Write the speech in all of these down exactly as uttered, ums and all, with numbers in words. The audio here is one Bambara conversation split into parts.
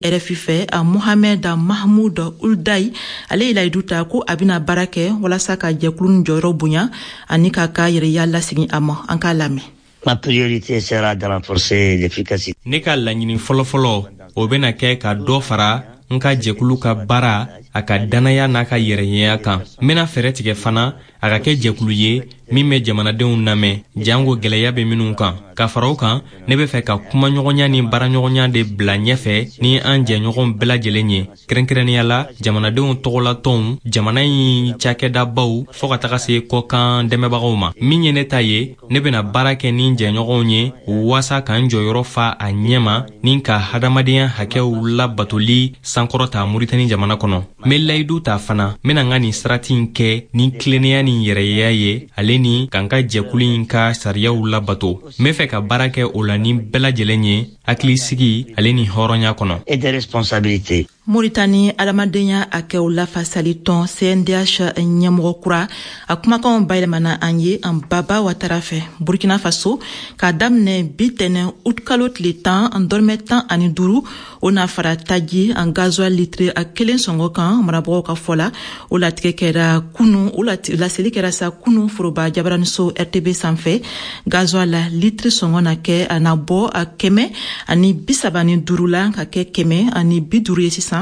R F I fɛ, a Mohamed Mahmoud Ould Daddah, ale ye layidu ta ko a bɛna baara kɛ walasa ka jɛkulu nin jɔyɔrɔ bonya ani k'a ka yɛrɛya lasegin a ma. An k'a lamɛn. Ma priorité sera de renforcer l'efficacité. Ne ka laɲini fɔlɔfɔlɔ, o bɛna kɛ ka dɔ fara n ka jɛkulu ka baara, a ka dannaya n'a ka yɛrɛɲɛya kan. N bɛna fɛɛrɛ tigɛ fana a ka kɛ jɛkulu ye min bɛ jamanadenw lamɛn, jango gwɛlɛya bɛ minnu kan. Ka fara o kan, ne bɛ fɛ ka kumaɲɔgɔnya ni baaraɲɔgɔnya de bila ɲɛfɛ ni an jɛɲɔgɔn bɛɛ lajɛlen ye, kɛrɛnkɛrɛnnenya la jamanadenw tɔgɔlatɔnw, jamana in cakɛdabaw, fɔɔ ka taga se kɔkan dɛmɛbagaw ma. Min ye ne ta ye, ne bɛna baara kɛ ni jɛɲɔgɔnw ye waasa k'an jɔyɔrɔ fa a ɲɛma ni ka hadamadenya hakɛw labatoli sankɔrɔta Muritani jamana kɔnɔ. N be layidu ta fana, n bena n ka nin sarati in kɛ ni tilennenya ni yɛrɛya ye, ale ni ka n ka jɛkulu in ka sariyaw labato. N be fɛ ka baara kɛ o la ni bɛɛ lajɛlen ye, hakilisigi ale ni hɔrɔnya kɔnɔ. Et des responsabilités. Moritani adamadenya hakɛw lafasali tɔn C N D H ɲɛmɔgɔ kura, a kumakanw bayɛlɛmana an ye an Baba Watara fɛ. Burkina Faso, k'a daminɛ bi tɛnɛ utikalo tile tan, an dɔrɔmɛ tan ani duuru, o n'a fara taji an gasoil litre a kelen sɔngɔ kan, marabagaw ka fɔ la. O latigɛ kɛra kunu, o laseli kɛra sa kunu foroba jabaraniso R T B sanfɛ. Gasoil la litre sɔngɔ na kɛ a na bɔ a kɛmɛ ani bisaba ni duuru la ka kɛ kɛmɛ ani bi duuru ye sisan.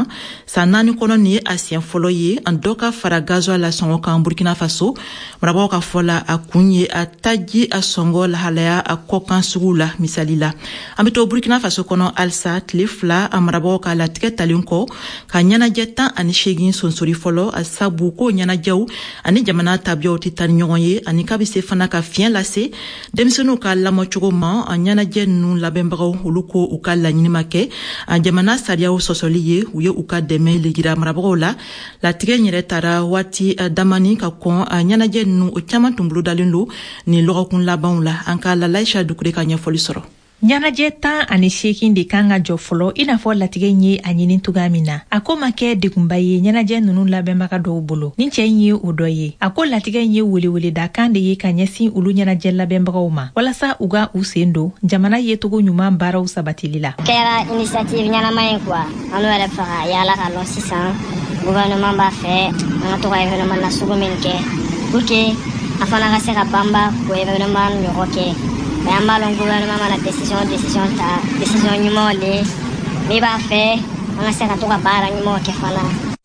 San naani kɔnɔ, nin ye a siɲɛ fɔlɔ ye an dɔ ka fara gasoil la sɔngɔ kan Burkina Faso. Marabagaw ka fɔ la, a kun ye a taji a sɔngɔ lahalaya a kɔkan sugu la. Misali la, an be to Burkina Faso kɔnɔ halisa. Tile fila a marabagaw ka latigɛ talen kɔ ka ɲɛnajɛ tan ani seegin sonsori fɔlɔ, a sabu ko ɲɛnajɛw ani jamana tabiyaw tɛ taa ni ɲɔgɔn ye, ani k'a be se fana ka fiɲɛ lase denmisɛnninw ka lamɔcogo ma, a ɲɛnajɛ nunu labɛnbagaw, olu ko u ka laɲini ma kɛ a jamana sariyaw sɔsɔli ye. U ye u ka dɛmɛ le jira marabagaw la. Latigɛ yɛrɛ tara waati damani ka kɔn a ɲɛnajɛ nunu, o caaman tun bolodalen don nin lɔgɔkun labanw la. An ka Lalaisha Dukure ka ɲɛfɔli sɔrɔ. Ɲɛnajɛ tan ani seegin de kan ka jɔ fɔlɔ, i n'a fɔ latigɛ in ye a ɲini cogoya min na. A ko ma kɛ degunba ye ɲɛnajɛ nunu labɛnbaga dɔw bolo. Ni cɛ in ye o dɔ ye. A ko latigɛ in ye weleweledakan de ye ka ɲɛsin olu ɲɛnajɛ labɛnbagaw ma, walasa u ka u sen don jamana yecogo ɲuman baaraw sabatili la. Kɛra initiative ɲɛnama ye quoi. An yɛrɛ fɛ ka yaala ka lɔn sisan gouvernement b'a fɛ an ka to ka événement nasugu min kɛ pour que a fana ka se ka banba k'o événement ɲɔgɔn kɛ. Mais an b'a lɔn, gouvernement mana décision décision ta, décision ɲumanw le min b'a fɛ an ka se ka to ka baara ɲumanw kɛ fana.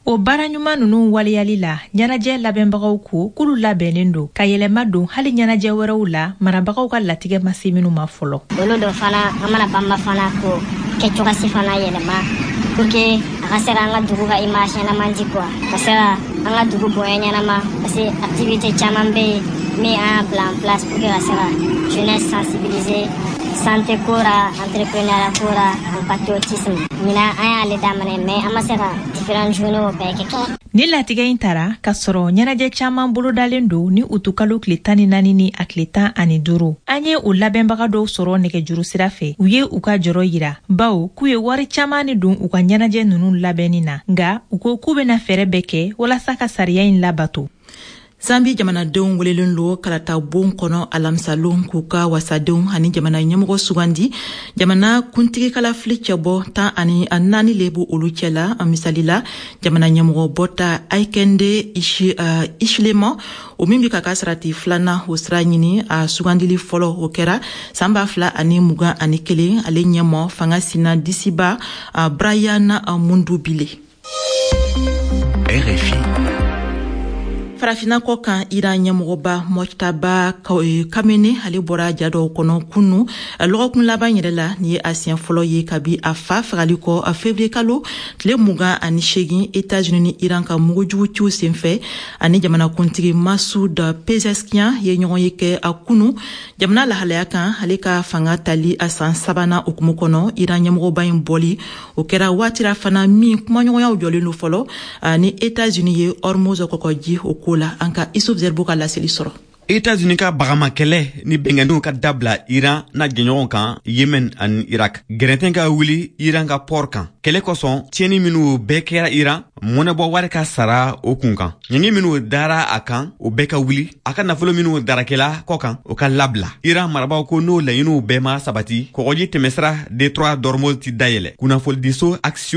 O baara ɲuman nunu waleyali la, ɲɛnajɛ labɛnbagaw ko k'olu labɛnnen don ka yɛlɛma don hali ɲɛnajɛ wɛrɛw la, marabagaw ka latigɛ ma se minnu ma fɔlɔ. Olu dɔ fana, an mana banba fana k'o kɛcogosi fana yɛlɛma pour que a ka se ka an ka dugu ka image ɲɛnama di quoi, ka se ka an ka dugu bonya ɲɛnama, parce que activité caman bɛ yen min an y'a bila en place pour que ka se ka jeunesse sensibiliser santé ko ra, entrepreneuriat ko ra, en patriotisme. Ɲinan an y'ale daminɛ, mais an ma se ka différentes journées bɛɛ kɛ kɛ. Ni latigɛ in tara k'a sɔrɔ ɲɛnajɛ caaman bolodalen don ni utukalo tile tan ni naani ni a tile tan ani duuru. An ye o labɛnbaga dɔw sɔrɔ nɛgɛjuru sira fɛ. U ye u ka jɔrɔ yira, bawo k'u ye wari caaman ni don u ka ɲɛnajɛ nunu labɛnni na, nga u ko k'u bena fɛɛrɛ bɛɛ kɛ walasa ka sariya in labato. Zambi jamanadenw welelen lo kalata bon kɔnɔ alamisalon k'u ka wasadenw ani jamana ɲɛmɔgɔ sugandi. Jamana kuntigi kalafili cɛbɔ tan ani naani le b'o olu cɛla. Misali la, jamana ɲɛmɔgɔ bɔta Hakainde Hichilema, o min bi ka ka sarati filanan o sira ɲini, a sugandili fɔlɔ o kɛra san ba fila ani mugan ani kelen. Ale ɲɛmɔ fanga sina disiba Brian Mundubile. R F I. Farafina kɔ kan, Iran ɲɛmɔgɔba Mojtaba Khamenei, ale bɔra ja dɔw kɔnɔ kunu lɔgɔkun laban yɛrɛ la. Nin ye a siɲɛ fɔlɔ ye kabi a fa fagali kɔ février kalo tile mugan ani segin, Etats-Unis ni Iran ka mugujugu ciw senfɛ. Ani jamanakuntigi Masoud Pezeshkian ye ɲɔgɔn ye kɛ a kunu jamana lahalaya kan, ale ka fanga tali a san sabanan hukumu kɔnɔ. Iran ɲɛmɔgɔba in bɔli, o kɛra waati la fana min kumaɲɔgɔnyaw jɔlen don fɔlɔ ni Etats-Unis ye Hormuz kɔkɔji o ko la. An ka Isuf Zerbo ka laseli sɔrɔ. Etats-Unis ka bagamakɛlɛ ni bɛnkanniw ka dabila Iran n'a jɛɲɔgɔnw kan Yemen ani Irak. Gɛrɛntɛn ka wuli Iran ka pɔr kan. Kɛlɛ kosɔn, tiɲɛni minw bɛɛ kɛra Iran, mɔnɛbɔ wari ka sara o kun kan. Ɲangi minw dara a kan, o bɛɛ ka wuli. A ka nafolo minw darakɛla kɔ kan, o ka labila. Iran marabaw ko n'o laɲiniw bɛɛ ma sabati, kɔgɔji tɛmɛsira détroit d'Ormuz ti dayɛlɛ. Kunnafonidiso Axios.